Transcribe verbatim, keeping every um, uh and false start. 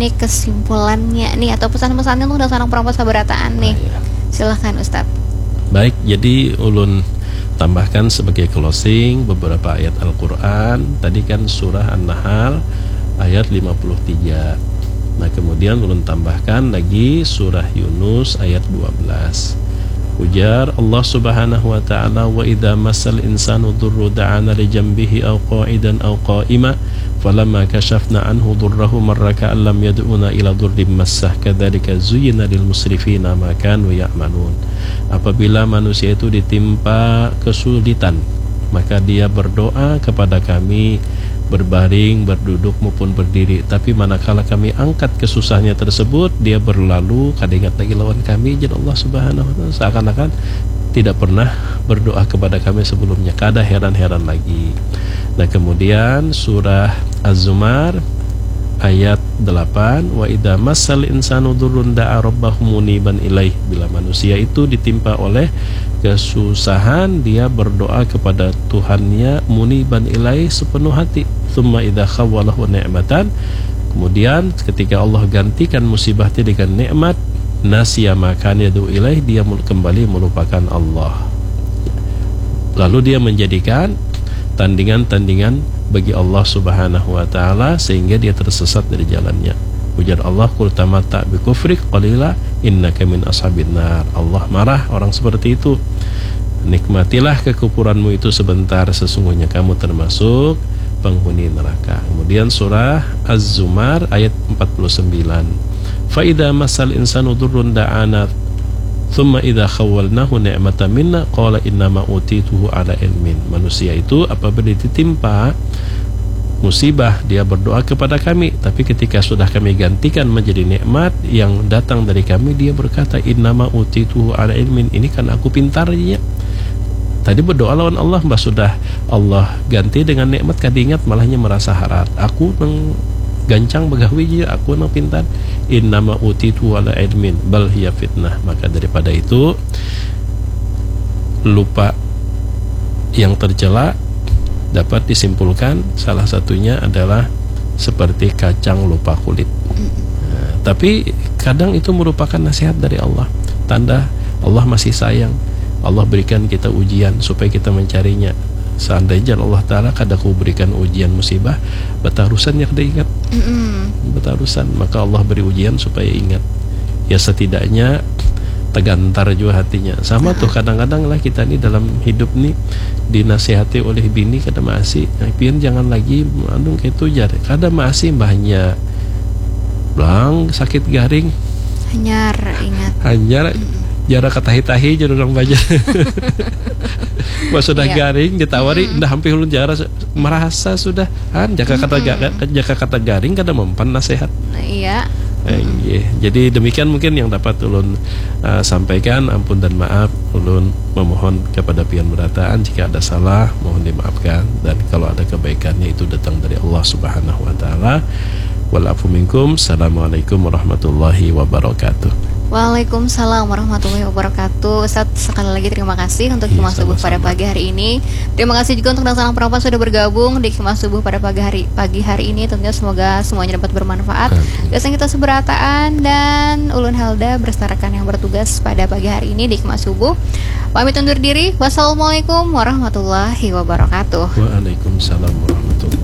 Ini kesimpulannya nih atau pesan-pesannya untuk dasar perempuan sabarataan nih. Ah, iya. Silahkan, Ustadz. Baik, jadi ulun tambahkan sebagai closing beberapa ayat Al-Quran. Tadi kan surah An-Nahl ayat lima puluh tiga. Nah, kemudian ulun tambahkan lagi surah Yunus ayat dua belas. Ujar Allah Subhanahu wa Ta'ala, "Wa idza massal insanu dhurru da'ana li jambihi au qa'idan au qa'ima, falamma kashafna anhu dhurrahu marra ka'an lam yad'una ila dhurrim massah, kadzalika zuyyina lil musrifina ma kanu ya'malun." Apabila manusia itu ditimpa kesulitan, maka dia berdoa kepada Kami berbaring, berduduk maupun berdiri. Tapi manakala Kami angkat kesusahannya tersebut, dia berlalu, kada ingat lagi lawan Kami, jar Allah Subhanahu wa Ta'ala. Seakan-akan tidak pernah berdoa kepada Kami sebelumnya. Kada heran-heran lagi. Nah, kemudian surah Az-Zumar ayat delapan, "Wa idza massal insanu dhurrun da'a rabbahu muniban ilaih." Bila manusia itu ditimpa oleh kesusahan, dia berdoa kepada Tuhannya muniban ilaih, sepenuh hati. "Tsumma idza khawwalahu ni'matan." Kemudian ketika Allah gantikan musibah itu dengan nikmat, "Nasiya ma kana yad'u ilaih," dia mul-, kembali melupakan Allah. Lalu dia menjadikan tandingan-tandingan bagi Allah Subhanahu wa Ta'ala, sehingga dia tersesat dari jalannya. Ujar Allah, "Qul tamatta' bi kufrik qalila innaka min ashabin nar." Allah marah orang seperti itu. "Nikmatilah kekufuranmu itu sebentar, sesungguhnya kamu termasuk penghuni neraka." Kemudian surah Az-Zumar ayat empat puluh sembilan. "Fa idza massal insanu dhurrun da'ana, tsumma idza khawwalnahu ni'matan minna, qala innama utituhu ala ilmin." Manusia itu apabila ditimpa musibah, dia berdoa kepada Kami, tapi ketika sudah Kami gantikan menjadi nikmat yang datang dari Kami, dia berkata, "Innama utituhu ala ilmin." Ini kan aku pintarnya. Tadi berdoa lawan Allah, mbah sudah Allah ganti dengan nikmat, kada ingat, malahnya merasa harat. Aku nang gancang begawi ja, aku nang pintar. "Innama utitu ala ilmin, bal hiya fitnah." Maka daripada itu, lupa yang tercela dapat disimpulkan salah satunya adalah seperti kacang lupa kulit. Nah, tapi kadang itu merupakan nasihat dari Allah. Tanda Allah masih sayang. Allah berikan kita ujian supaya kita mencarinya. Seandainya Allah Ta'ala kada ku berikan ujian musibah, batarusan ya kada ingat. Mm-mm. Batarusan, maka Allah beri ujian supaya ingat. Ya, setidaknya tegantar jua hatinya. Sama tuh, kadang-kadang lah kita ni dalam hidup ni dinasihati oleh bini, kada maasi. "Nah, pian jangan lagi anu kaitu," jar. "Kada maasi, mbahnya." Blang, sakit garing. Hanyar, ingat. Hanyar, mm-mm, jara katahi-tahi, jar urang Banjar. Pas sudah, iya, garing, ditawari, mm-mm, "Ndah, ampih ulun jara." Merasa sudah, kan, jaka kata ga-, mm-mm, jaka kata garing kada mempan nasihat. Nah, iya. Eh, mm-mm, iya. Jadi demikian mungkin yang dapat ulun, eh, sampaikan. Ampun dan maaf, ulun memohon kepada pian berataan jika ada salah, mohon dimaafkan, dan kalau ada kebaikannya itu datang dari Allah Subhanahu wa Ta'ala. Wal afu minkum. Assalamualaikum warahmatullahi wabarakatuh. Waalaikumsalam warahmatullahi wabarakatuh. Ustadz, sekali lagi terima kasih untuk, iya, ceramah subuh pada, sama-sama, pagi hari ini. Terima kasih juga untuk dasar perempuan sudah bergabung di ceramah subuh pada pagi hari, pagi hari ini. Tentunya semoga semuanya dapat bermanfaat. Amin. Gasan kita seberataan dan ulun Helda beserta rekan yang bertugas pada pagi hari ini di ceramah subuh. Pamit undur diri. Wassalamualaikum warahmatullahi wabarakatuh. Waalaikumsalam warahmatullahi